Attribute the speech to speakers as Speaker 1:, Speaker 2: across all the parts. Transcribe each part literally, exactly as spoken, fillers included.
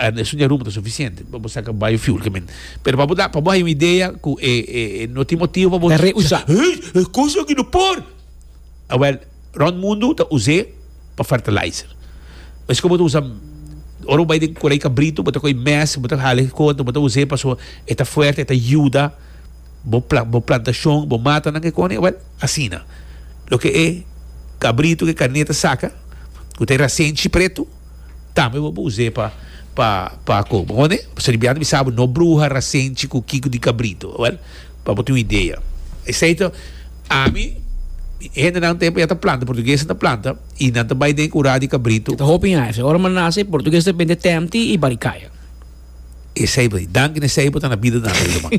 Speaker 1: Esun di Aruba ta suficiente pa bo saca biofuel ke men. Pero pa bo da, pa bo haya un idea cu e, e, e no tin motivo pa bo
Speaker 2: Ta reusa.
Speaker 1: Hey, e cos aki no por. Awel, rond mundo ta us'é pa fertilizer. Esco bo ta usa ora bo bai den Corei Cabrito, bo ta coge mes, bo ta hala e conta, bo ta us'é pasobra e ta fuerte, e ta yuda bo pla bo plantacion, bo matanan ke cone. Awel, asina. Loke e cabrito ku e carné ta saca, cu ta e rasenchi preto, tambe bo por us'é pa pa pa ko. Bo kone? Pasobra di biaha ta bisa bo no bruha rasenchi ku kiko di cabrito. Awel, pa bo tin un idea. Esei ta ami, hendenan tempo ya ta planta, portuguesnan ta planta i nan ta bai den kura di cabrito.
Speaker 2: Ta hopi aña. Ora mi a nase, portugues ta bende temti i barikaya.
Speaker 1: Esei bo di. Danki na esei bo ta na bida tambe, ruman.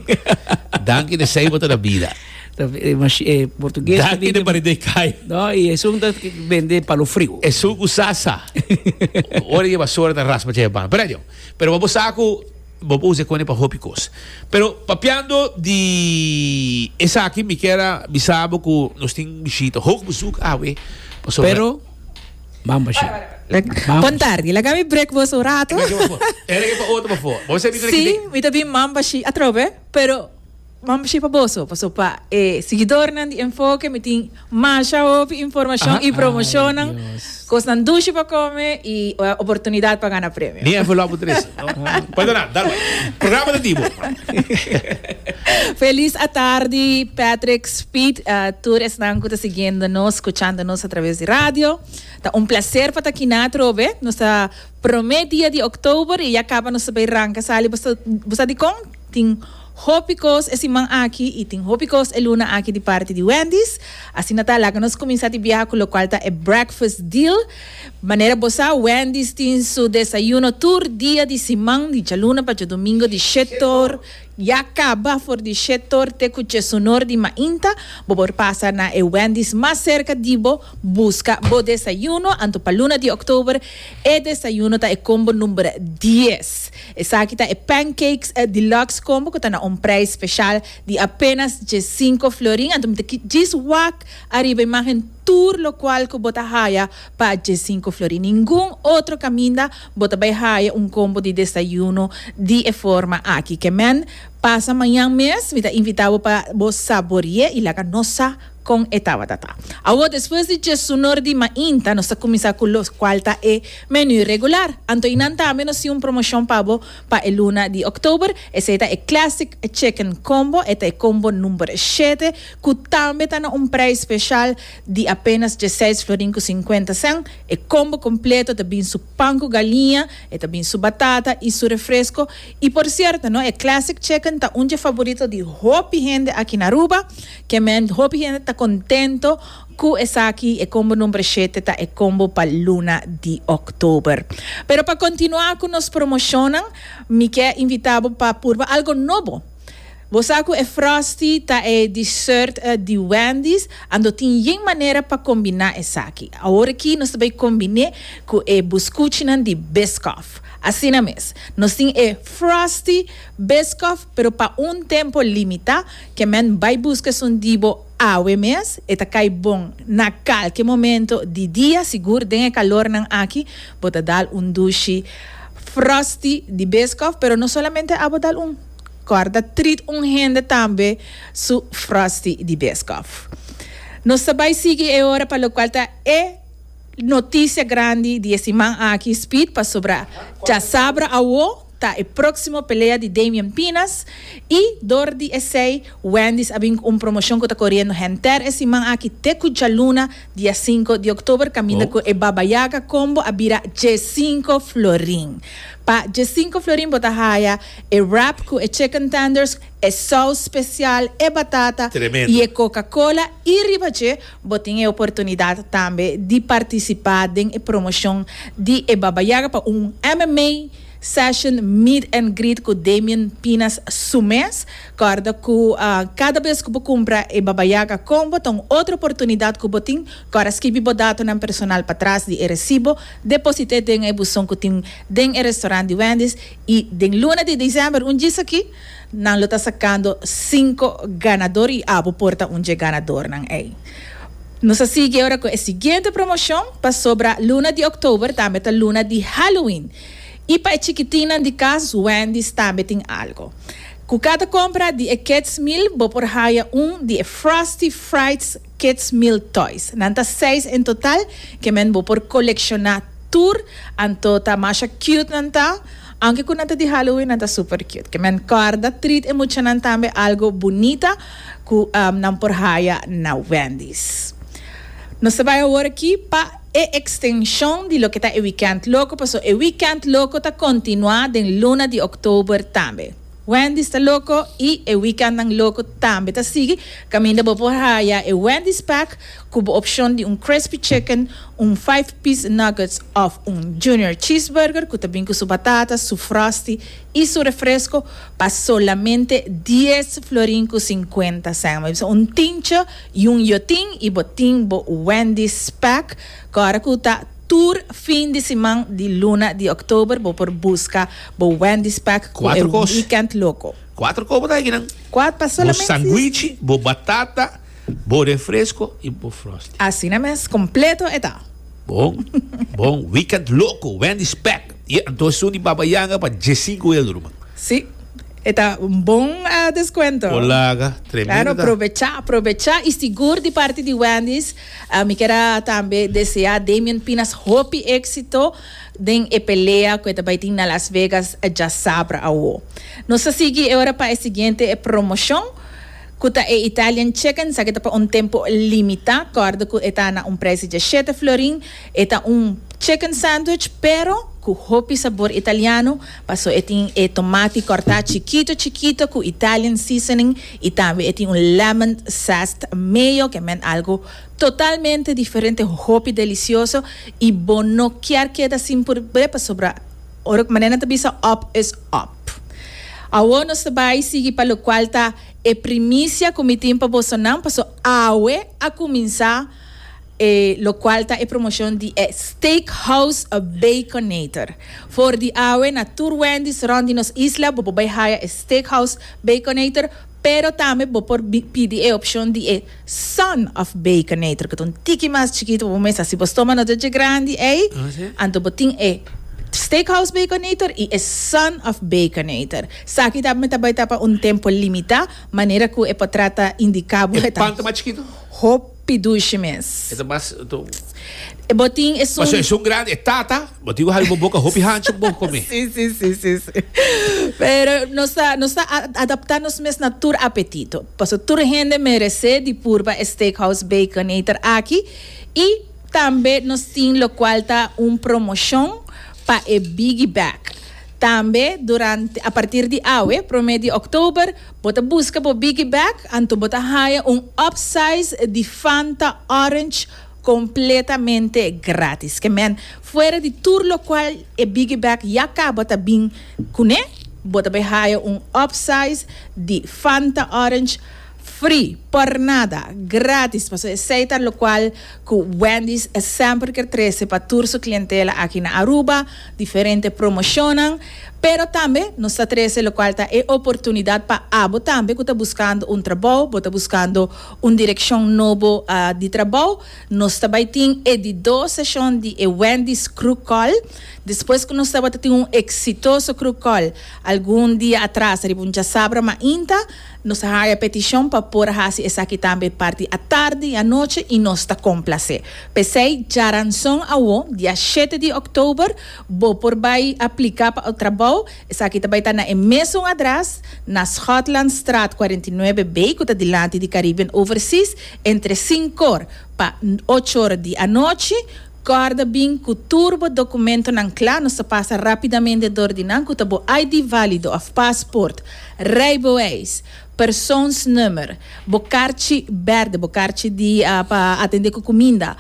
Speaker 1: Danki na esei bo ta na bida.
Speaker 2: Ta, eh, machi- eh, portugues ta
Speaker 1: Danki na
Speaker 2: bende
Speaker 1: barikaya.
Speaker 2: No, i esun ta bende palo friu.
Speaker 1: Esun ku sa sa. Ora e basura ta raspa dje ban. Pero adio. Pero bo sa ku bo por usa e kone pa hopi kos. Pero papiando di esaki mi kier a bisa bo ku nos tin bishita, hoog bezoek awe pasobra.
Speaker 2: Pero Mamba shi.
Speaker 3: Bon tardi. Laga mi break boso un rato.
Speaker 1: Era ke pa otro pa for. Bo sa mi
Speaker 3: Sí, mi ta bin mamba shi atrobe, pero mamba shi pa boso, paso pa e siguidornan di Enfoke mi tin masha hopi informashon i promoshonnan, kosnan dushi pa kome i oportunidat pa gana premio.
Speaker 1: Ni envelop bo trese. Perdona, dal bai. Programa ta di bo.
Speaker 3: Felis atardi Patrick, Speed, tur esnan ku ta siguiendo nos, skuchando nos atraves di radio. Ta un placer pa ta kina atrobe. Nos ta prome dia di oktober y ya caba nos ta bay ranca sali. Bo sa bo sa dicon? Tin hopi cos e siman aki y tin hopi cos e luna aki di parti di Wendy's. Asina ta laga nos cuminsa di biaha cu locual ta e breakfast deal. Manera bo sa Wendy's tin su desayuno tur dia di siman di djaluna pa djadomingo di shetor Ya caba for di shetor te cu chesunor di mainta, bo por pasa na e Wendy's mas cerca di bo, busca bo desayuno. Anto pa luna di october e desayuno ta e combo number dies. Esaki ta e pancakes deluxe combo cu ta na un prijs special di apenas diescinco florin. Anto mi ta djis wak ariba imagen tur locual cu bo ta haya pa diescinco florin. Ningun otro caminda bo ta bay haya un combo di desayuno di e forma aki. Ke men pasa mañan mes, mi ta invita bo pa bo saborie y laga nos sa con e tabata ta. Awor despues di diesunor di mainta nos ta cuminsa cu locual ta e menu regular. Anto y nan tambe nos tin un promocion pa bo pa e luna di october. Esey ta e Classic Chicken Combo, e ta e combo number shete cu tambe ta na un prijs special di apenas dieseis florin cu cincuenta cent. E combo completo ta bin su pan cu galiña, e ta bin su batata y su refresco. Y por cierto no, e Classic Chicken ta un dje favorito di hopi hende aki na Aruba. Ke men hopi hende ta contento cu esaki. E combo number shete ta e combo pa luna di october. Pero pa continua cu nos promocionnan, mi ke invita bo pa purba algo nobo. Bo sa cu e Frosty ta e dessert di Wendy's, anto tin yen manera pa combina esaki. Awor aki nos ta bay combine cu e buscuchinan di Biscoff. Asina mes, nos tin e Frosty Biscoff, pero pa un tempo limita, ke men bay busca esun di bo awe mes, e ta cay bon na calke momento di dia, sigur den e calornan aki, bo ta dal un dushi Frosty di Biscoff, pero no solamente abo dal un. Corda treat un hende tambe su Frosty di Biscoff. Nos ta bay sigui e ora pa locual ta e noticia grandi di e siman aki, Speed, pasobra djasabra awo ta e proximo pelea di Damian Pinas y dor di esey Wendy's a bin cu un promocion cu ta coriendo henter e siman aki te cu djaluna dia cinco di october, caminda cu e Baba Yaga combo a bira diescinco florin. Pa diescinco florin bo ta haya e wrap cu e chicken tenders, e saus special, e batata
Speaker 1: Tremendo.
Speaker 3: y e Coca-Cola y riba dje bo tin e oportunidad tambe di participa den e promocion di e Baba Yaga pa un M M A session meet and greet cu Damian Pinas su mes. Corda cu cada bes cu bo cumpra e Baba Yaga combo ta un otro oportunidad cu bo tin. Corda skibi bo datonan personal patras di e recibo, deposite den e buzon cu tin den e restaurant di Wendy's y den luna di december un djis aki nan lo ta sacando cinco ganador y abo por ta un dje ganadornan ey. Nos a sigui ora cu e siguiente promocion pasobra luna di october tambe ta luna di Halloween. Y pa chikitinnan di cas, Wendy's tambe tin algo. Cu cada compra di e Kids Meal, bo por haya un di Frosty Frights Kids Meal Toys. Nan ta seis in total, kiermen bo por colecciona tur, anto ta masha cute nan ta. Aunke cu nan ta di Halloween, nan ta super cute. Kiermen corda treat e muchanan tambe algo bunita cu um, nan por haya na Wendy's. Nos ta bay awor aki pa e extension di loke ta e Weekend Loco, paso e Weekend Loco ta continua den luna di october tambe. Wendy's ta loco y e Weekend nan Loco tambe ta sigui. Caminda bo por haya e Wendy's Pack cu opcion di un crispy chicken, un five piece nuggets of un junior cheeseburger cu tambe cu su batata, su frosty y su refresco pa solamente dies florin cu cincuenta cent. Un tientje y un yotin y bo tin bo Wendy's Pack. Awor cu ta tur fin di siman di luna di october, bo por busca bo Wendy's Pack cu
Speaker 1: Cuatro
Speaker 3: e
Speaker 1: cos.
Speaker 3: Weekend Loco.
Speaker 1: Cuatro copo ta aki, no?
Speaker 3: Cuatro pa
Speaker 1: Bo
Speaker 3: solamente.
Speaker 1: Sandwich, bo batata, bo refresco y bo frosty.
Speaker 3: Asina mes, completo e ta.
Speaker 1: Bon, bon. Weekend Loco, Wendy's Pack. Y anto esun di Baba Yanga pa diescinco euro, man.
Speaker 3: Si, ta un bon uh, descuento.
Speaker 1: Olaga, tremendo.
Speaker 3: Claro, aprovecha, aprovecha. Y sigur di parti di Wendy's, uh, mi kier tambe desea Damian Pinas hopi exito den e pelea cu tambe tin na Las Vegas diasabra awo. Nos ta sigui awor pa e siguiente promocion. Cu ta e Italian Chicken, esaki ta pa un tempo limita, corda cu ta na un prijs di shete florin, ta un chicken sandwich, pero cu hopi sabor italiano, paso e tin e tomati corta chikito chikito cu Italian seasoning y tambe tin un lemon zest mayo, kiermen algo totalmente diferente, hopi delicioso y bo no kier keda sin purba pasobra ora manera ta bisa, up is up. Awo nos bay sigui pa locual ta e primicia cu mi tin pa bosonan, paso awe a cuminsa eh, locual ta e promocion di eh, Steakhouse Baconator. For di awe na tur Wendy's rond di nos isla, bo por bay haya e Steakhouse Baconator, pero tambe bo por pidi e opcion di e Son of Baconator, cu ta un tiki mas chikito, bo mes si bo stoma no ta grandi, eh?
Speaker 1: Ah, si?
Speaker 3: Anto bo tin e Steakhouse Baconator y e Son of Baconator. Esaki tambe tambe ta pa un tempo limita, manera cu e potret ta indica bo.
Speaker 1: E pan ta mas chikito?
Speaker 3: Hopi dushi mes.
Speaker 1: E mas to.
Speaker 3: E bo tin e
Speaker 1: Mas e un grandi, e tata, bo tin cu boca hopi hancho bo come.
Speaker 3: Si, si, si, si, si. Pero nos ta, nos ta adapta nos mes na tur apetito. Paso tur hende merece di purba Steakhouse Baconator aki. Y tambe nos tin locual ta un promocion pa e Biggie Bag. Tambe durante a partir di awe, prome di october, bo ta busca bo Biggie Bag, anto bo ta haya un upsize di Fanta Orange completamente gratis. Kiermen, fuera di tur locual e Biggie Bag ya caba ta bin cune, bo ta bay haya un upsize di Fanta Orange free, por nada, gratis. Paso esey ta locual cu Wendy's semper kier trece pa tur su clientela aki na Aruba, diferente promocion, pero tambe nos ta trece locual ta e oportunidad pa abo tambe cu ta buscando un trabou, ta buscando un direccion nobo uh, di trabou. Nos tambe tin e di dos sesion di e Wendy's Crew Call. Despues cu nos tabata tin un exitoso crew call algun dia atras, riba un diasabra mainta, nos a haya peticion pa por hasi esaki tambe parti atardi y anochi y nos ta complace. Pesey, diaranson awo, dia shete di october, bo por bay aplica pa e trabou. Esaki tambe ta na e mesun adres, na Schotlandstraat cuarenta y nuebe B, cu ta dilanti di Caribbean Overseas, entre cinco or pa ocho or di anochi. Corda bin cu tur bo documentonan cla, nos ta pasa rapidamente door di nan, cu bo I D valido of passport, rijbewijs, persoonsnummer, bo kaartje berde, bo kaartje di uh, pa atende cu cuminda,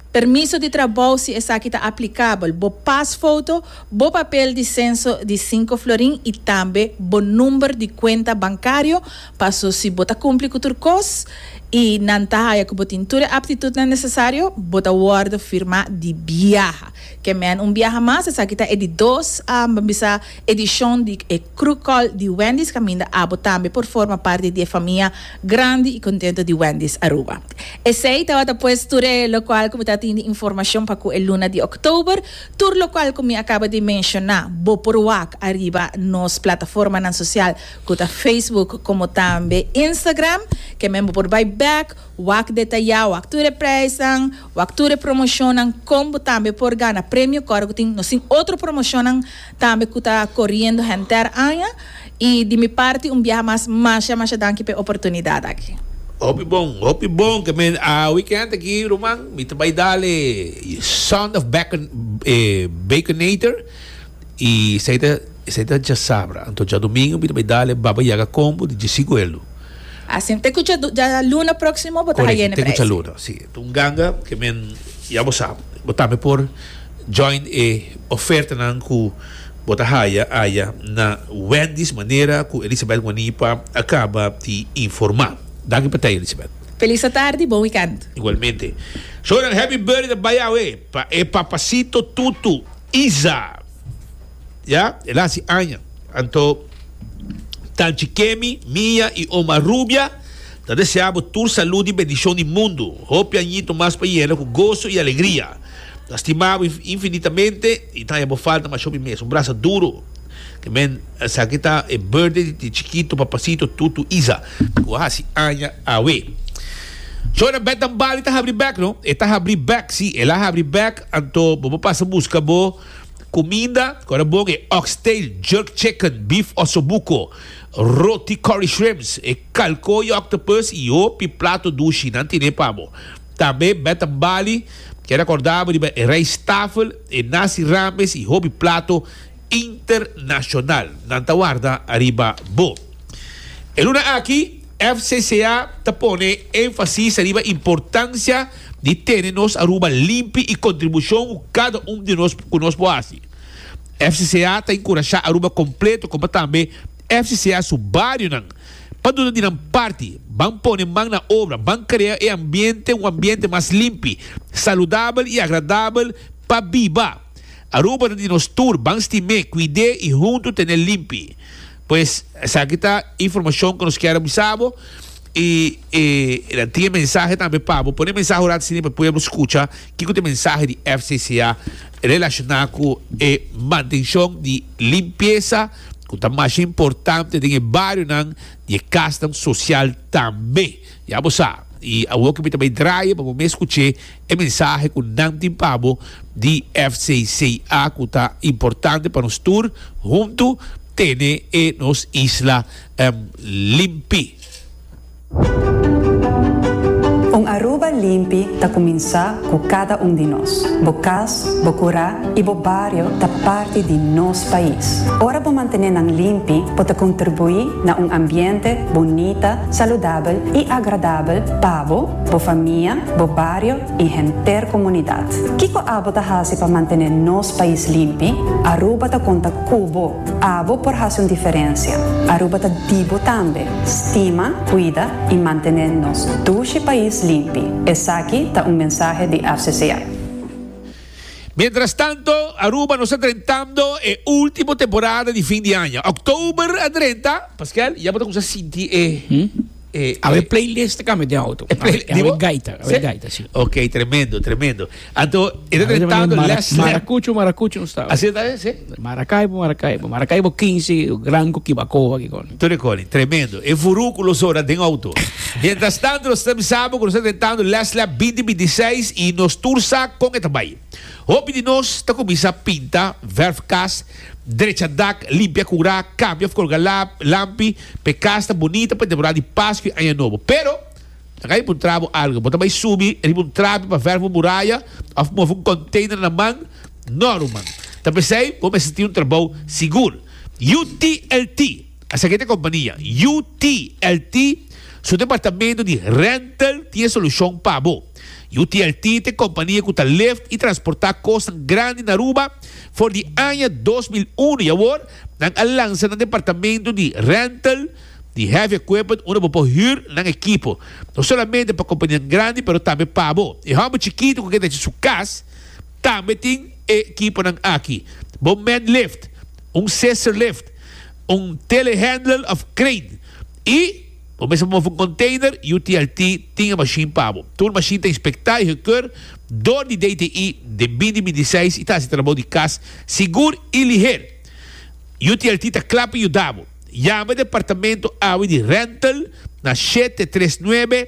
Speaker 3: permiso di trabou si esaki ta aplicabel, bo pasfoto, bo papel di censo di cinco florin y tambe bo number di cuenta bancario, paso si bo ta cumpli cu tur cos. Y nan ta haya cu bo tin tur aptitud nan necesario, bo ta wordo firma di biaha. Kemen un biaha mas, esaki ta e di dos um, bisa edicion di e Crew Call di Wendy's, caminda abo tambe por forma parti di famia grandi y contento di Wendy's Aruba. Esey tawata pues tur locual cu mi tin di informacion pa cu e luna di october, tur locual cu mi a caba di menciona, bo por wak ariba nos plataforma nan social, cu ta Facebook como tambe Instagram, kemen bo por bay back, wak detaya, wak tur e prijsnan, wak tur e promocionnan, como tambe por gana premio, corda cu tin, nos tin otro promocionnan tambe cu ta coriendo henter aña, y di mi parti un biaha mas, masha, masha danki pa e oportunidad aki.
Speaker 1: Hopi bon, hopi bon. Kemen a weekend aki, ruman, mi ta bay dal e Sound of Bacon, eh, Baconator. Y esey ta, esey ta diasabra. Anto diadomingo mi ta bay dal e Baba Yaga Combo di diescinco euro.
Speaker 3: Asina, te cu dialuna proximo, bo ta
Speaker 1: Correcto,
Speaker 3: hayendo
Speaker 1: te
Speaker 3: prijs.
Speaker 1: cu luna, si. Un ganga kemen ya bo sabi. Bo tambe por join e oferta nan cu bo ta haya aya na Wendy's, manera cu Elizabeth Guanipa a caba di informa. Danki pa Elizabeth.
Speaker 3: Feliz tarde, bon weekend.
Speaker 1: Igualmente. Shonan, happy birthday bay awe pa e papacito Tutu Isa. Ya, el a haci aña. Anto Tanchi Kemi, Mia y Oma Rubia ta desea bo tur salud y bendicion di mundo. Hopi añito mas pa yena cu goso y alegria. Ta stima bo infinitamente y ta bo falta mas hopi mes. Un brasa duro. Kemen esaki ta e birthday di chikito papacito Tutu Isa. Cu a haci aña awe. Shona, Betan Bali ta habri back, no? E ta habri back, si, el a habri back, anto bo pasa busca bo cuminda, awor bon e oxtail, jerk chicken, beef ossobuco, roti curry shrimps, e calcoy octopus y hopi plato dushi, nan tin pa bo. Tambe Betan Bali, kier recorda bo di rijsttafel, e nasi rames y hopi plato internacional. Nan ta warda ariba bo. E luna aki, F C C A ta pone enfasis riba importancia di tene nos Aruba limpi y contribucion cu cada un di nos cu nos por haci. F C C A ta encurasha Aruba completo, como tambe F C C A su barionan, pa duna di nan parti, ban pone man na obra, ban crea e ambiente, un ambiente mas limpi, saludabel y agradabel pa biba. Aruba di nos tur, ban stim'e, cuid'e y hunto ten'e limpi. Pues, esaki ta informacion cu nos kier a bisa bo y eh, tin mensahe tambe pa bo. Pone mensahe ora asina pa pueblo scucha kico ta e mensahe di F C C A relaciona cu e mantencion di limpiesa, cu ta mas importante den bario nan y cas social tambe. Ya bo sa. Y awor cu mi tambe draai pa bo scucha e mensahe cu nan tin pa bo di F C C A, cu ta importante pa nos tur hunto tene e nos isla um, limpi.
Speaker 4: Un Aruba limpi ta cuminsa cu cada un di nos. Bo cas, bo cura y bo bario ta parti di nos pais. Ora bo mantene nan limpi, bo ta contribui na un ambiente bunita, saludabel y agradabel pa bo, bo famia, bo bario y henter comunidad. Kico abo ta haci pa mantene nos pais limpi? Aruba ta conta cu bo. Abo por haci un diferencia. Aruba ta di bo tambe. Stima, cuida y mantene nos dushi pais limpi. Esaki ta un mensahe di F C C A.
Speaker 1: Mientras tanto, Aruba nos ta drentando e ultimo temporada di fin di aña. October a drenta, Pascal, ya bo ta sinti e
Speaker 2: Hmm?
Speaker 1: eh,
Speaker 2: A e playlist cambia di auto.
Speaker 1: E play-
Speaker 2: A
Speaker 1: Dibo?
Speaker 2: gaita, a
Speaker 1: Si?
Speaker 2: gaita, si.
Speaker 1: Ok, tremendo, tremendo. Anto, e ta drentando last lap.
Speaker 2: Maracucho, Maracucho no ta.
Speaker 1: Asina ta, si?
Speaker 2: Maracaibo, Maracaibo. Maracaibo quince, Gran Coquibacoa aki con.
Speaker 1: Tur coni, tremendo. E furuculo ora den auto. Mientras tanto, nos ta sabi cu nos ta drentando last lap dos mil bintiseis y nos tur sa con e tambe. Hopi di nos ta cuminsa pinta, verf cas, drecha dak, limpia cura, cambia, colga lampi, p'e cas ta bunita pa temporada di Pasco y Aña Nobo. Pero, Cay puntra bo algo. Bo ta bay subi, riba un trapi pa verf muraya, of move un container na man, no, ruman. Ta p'esey, bo mester un trabou sigur. U T L T, esaki ta e compania, U T L T, su departamento di rental tin solucion pa bo. U T L T ta e compania cu ta lift y transporta cos grandi na Aruba for di aña dos mil un y awor nan a lansa e departamento di rental. Di heavy equipment, unda bo por huur nan ekipo. No solamente pa compania grandi, pero tambe pa bo. E home chikito cu ta su cas, tambe tin ekipo nan aki. Bo man lift, un scissor lift, un telehandler of crane. Y bo mester move un container, U T L T tin e machine pa bo. Tur machine ta inspecta y gekeurd door di D T I di binti bintiseis y ta haci trabou di cas sigur y liher. U T L T ta cla pa yuda bo. Yama e departamento A W di rental na shete tres nuebe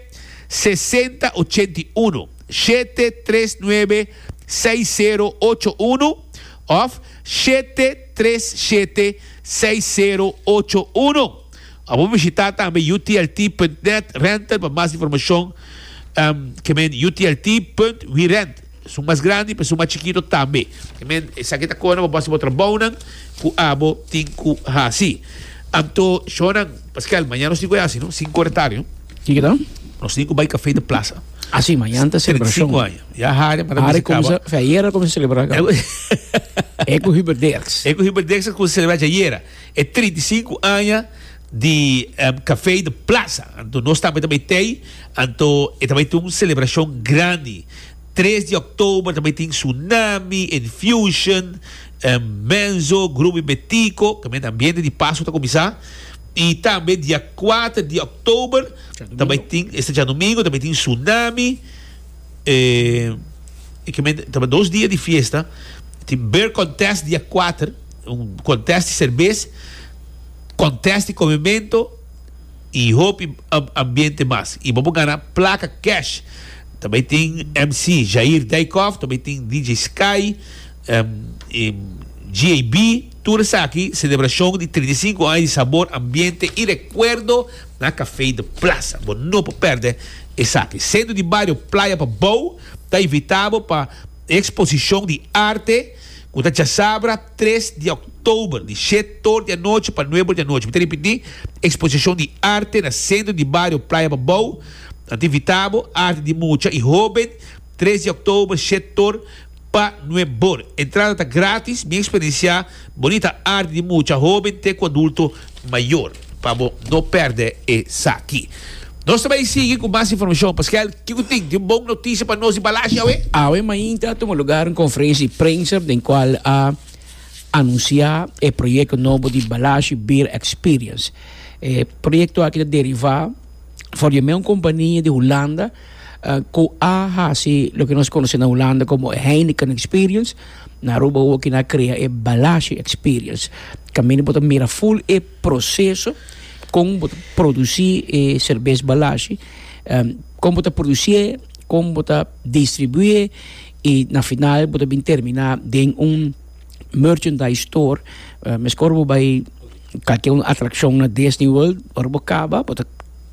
Speaker 1: sesenta ochenta i un, shete tres nuebe seis sero ocho uno of shete tres shete seis sero ocho uno. Bo bishita tambe U T L T punto net rental pa mas informacion, um, kiermen U T L T punto werent. Esun mas grandi, pa esun mas chikito tambe. Kiermen, esaki ta con bo bo trabou cu abo tin cu hasi. Anto, shonan, Pascal, mañan nos tin cu asina, no? Cinco or tardi, no?
Speaker 2: Kico ta?
Speaker 1: Nos tin cu bay Café de Plaza.
Speaker 2: Ah, si, mañan ta celebracion.
Speaker 1: trinta i sinku aña. Ya Harry, para
Speaker 2: Harry cuminsa, ayera a cuminsa celebra. E cu Hubert Dirks.
Speaker 1: E cu Hubert Dirks a cuminsa celebra ayera. E trinta i sinku aña di um, Café de Plaza. Anto, nos tambe tambe tin, anto, e tambe tin un celebracion grandi. tres di october tambe tin Tsunami, Infusion, um, Menzo, Grupo Betico, tambe ambiente di Pasco ta cuminsa. Y tambe dia kuater di october, tambe tin, este diadomingo, tambe tin Tsunami, eh, y tambe, tambe dos dia di fiesta. Tin Beer Contest dia kuater, un contest di cerbes, contest di comemento y hopi ambiente mas. Y bo gana placa cash. Tambe tin M C Jair Dijkhoff, tambe tin D J Sky, um, e G A B, tur esaki, celebracion di trinta i sinku aña di sabor, ambiente y recuerdo na Café de Plaza. Bo no por perde esaki. Centro di Bario Playa Pabou ta invita bo pa exposicion di arte cu ta diasabra tres di october, di shete or di anochi pa nuebe or di anochi. Mi ta ripiti, exposicion di arte na Centro di Bario Playa Pabou. Ta invita bo, arte di mucha y hoben, tres di october, shete or pa nuebe or. Entrada ta gratis, bin experiencia bunita arte di mucha, hoben, te cu adulto mayor. Pa no perde esaki. Nos tambe ta sigui cu mas informacion. Pascal, kico tin? Tin un bon noticia pa nos di Balashi, awe?
Speaker 2: Awe mainta a tuma luga un conferencia di prensa den cual a anuncia e proyecto nobo di Balashi Beer Experience. E proyecto aki ta deriva for di un compania di Hulanda uh, cu a hasi loke nos conoce na Hulanda como Heineken Experience. Na Aruba cu nan a crea e Balashi Experience. Caminda bo ta mira full e proceso con bo ta produci e cerbes Balashi, um, con bo ta produci, con bo ta distribui y na final bo ta bin termina den un merchandise store. Uh, mescos bo bay cualkier un atraccion na Disney World, ora bo caba, bo ta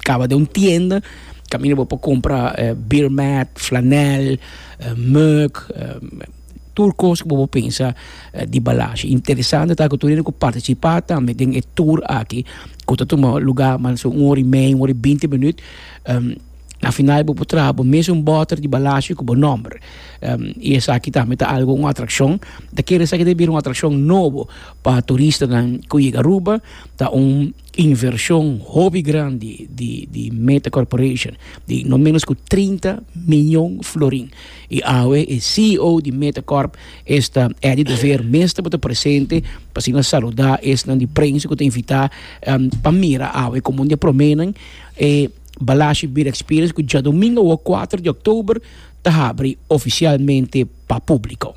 Speaker 2: caba den un tienda, caminda bo por cumpra uh, beer mat, flanel, uh, mug, uh, tur cos cu bo pensa uh, di Balashi. Interesante ta cu tur cu participa tambe den e tour aki, cu ta tuma luga mas un ora y mey, un ora y binti minuut. Um, na final bo por traha bo mesun boter di Balashi cu bo nomber. Um, y esaki tambe ta algo, un atraccion. Ta kere esaki ta bira un atraccion nobo pa turistanan cu yega Aruba, ta un inversion hopi grandi di di Meta Corporation di no menos cu trinta miyon florin. Y awe e C E O di Meta Corp, esta Eddie de Veer, mes tabata presente pa asina saluda esnan di prensa cu ta invita um, pa mira awe como un dia prome nan e Balashi Beer Experience cu diadomingo kuater di october ta habri oficialmente pa publico.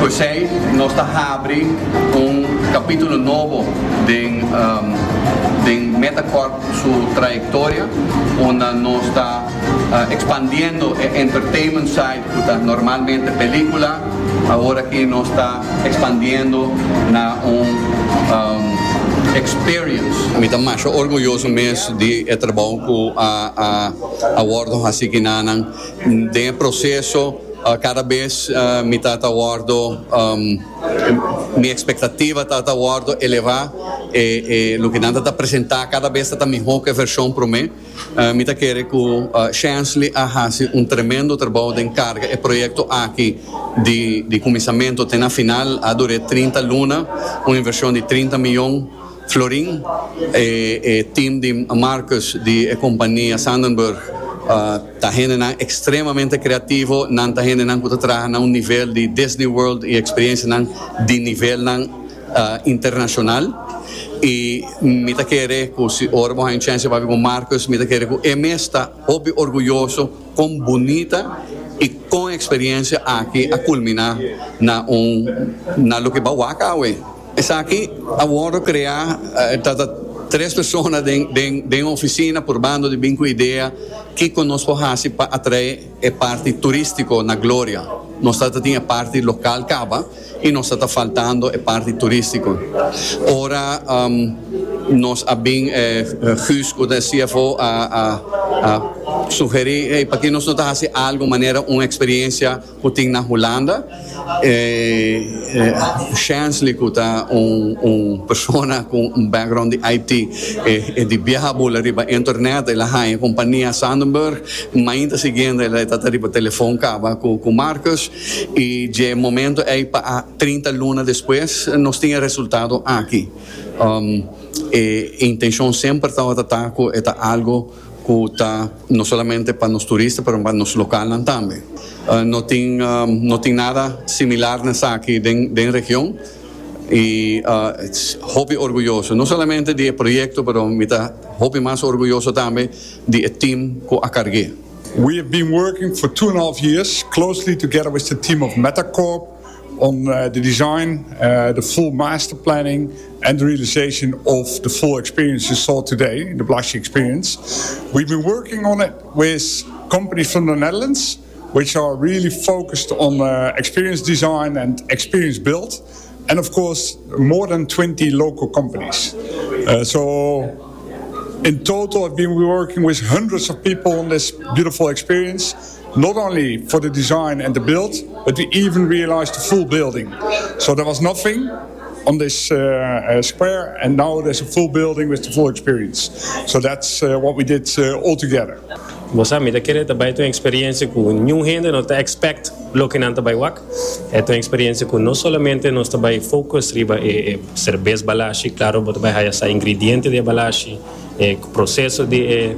Speaker 5: José, nos ta habri un capitulo nobo di, um, di Metacorp su trayectoria, unda nos ta uh, expandiendo e entertainment side, cu ta normalmente pelicula, awor aki nos ta expandiendo na un um, experience.
Speaker 6: Mi ta mas orguyoso mes di e trabou cu a a a wordo haci akinan den proceso. uh, cada bes uh, mi ta wordo um, mi expectativa ta wordo eleva e, e loke nan ta presenta cada bes ta miho cu e version prome. Uh, mi ta kere cu uh, Chansley a hasi un tremendo trabou di carga e proyecto aki di, di cuminsamento te na final. A dura trinta luna, un inversion di trinta miyon. florin. E, e team di Marcus di e compania Sandenburg uh, ta hendenan extremamente creativo, nan ta hendenan cu ta traha na un nivel di Disney World y experiencianan di nivelnan uh, internacional. Y mi ta kere cu si ora bo haya chance pa cu Marcus, mi ta kere cu e mes ta hopi orguyoso con bunita y con experiencia aki a culmina na un na loke bo a wak awe. Esaki awor crea uh, ta tres persona den den den oficina purbando di bin cu idea cu nos por haci pa atrae e parti turistico na Gloria. Nos ta tin e parti local caba y nos ta faltando e parti turistico. Ora um, nos a bin eh, Guus, cu ta C F O, a, a, a sugeri eh, pa cu nos no ta haci algo manera un experiencia cu tin na Hulanda. Eh, eh, Chansley, cu ta un, un persona cu un background di I T eh, eh, di biaha bula riba internet, el a haya compania Sandenburg, mainta siguiente el a ta riba telefon caba cu, cu Marcus y di momento ey pa trinta luna despues nos tin e resultado aki. Um, e intencion semper tabata cu ta algo cu ta no solamente pa nos turistanan, pero pa nos local tambe. Uh, no tin um, no tin nada similar na esaki den, den region y uh, hopi orguyoso, no solamente di e proyecto, pero mi ta hopi mas orguyoso tambe di e team cu a carga.
Speaker 7: We have been working for two and a half years closely together with the team of Metacorp on uh, the design, uh, the full master planning, and the realization of the full experience you saw today, the Balashi experience. We've been working on it with companies from the Netherlands, which are really focused on uh, experience design and experience build, and of course, more than twenty local companies. Uh, so in total, I've been working with hundreds of people on this beautiful experience, not only for the design and the build, but we even realized the full building. So there was nothing on this uh, uh, square, and now there's a full building with the full experience. So that's uh, what we did uh, all together.
Speaker 8: Bo mi ta kere tambe un experiencia cu ningun hende no ta expect loke nan ta bay wak. E un experiencia cu no solamente nos ta bay focus riba e, e cerbes Balashi, claro, bo ta bay haya e ingrediente di Balashi, e proceso di e,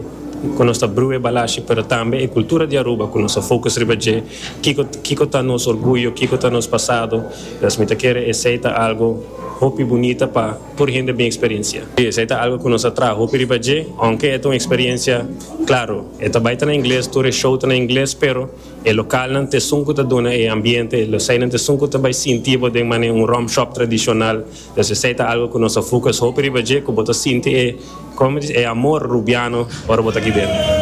Speaker 8: cu nos ta brew Balashi, pero tambe e cultura di Aruba, cu nos focus riba dje, kico kico ta nos orguyo, kico ta nos pasado. Anto mi ta kere esey ta algo hopi bunita pa tur hende bin experiencia. Y esey ta algo cu nos a traha hopi riba dje, aunke ta un experiencia, claro, e ta bay na ingles, tur show ta na ingles, pero e localnan ta esun cu ta duna e ambiente, localnan ta esun cu ta bay sinti den manera un rum shop tradicional. Anto esey ta algo cu nos a focus hopi riba dje, cu bo ta sinti e, con di, e amor rubiano ora bo ta aki den.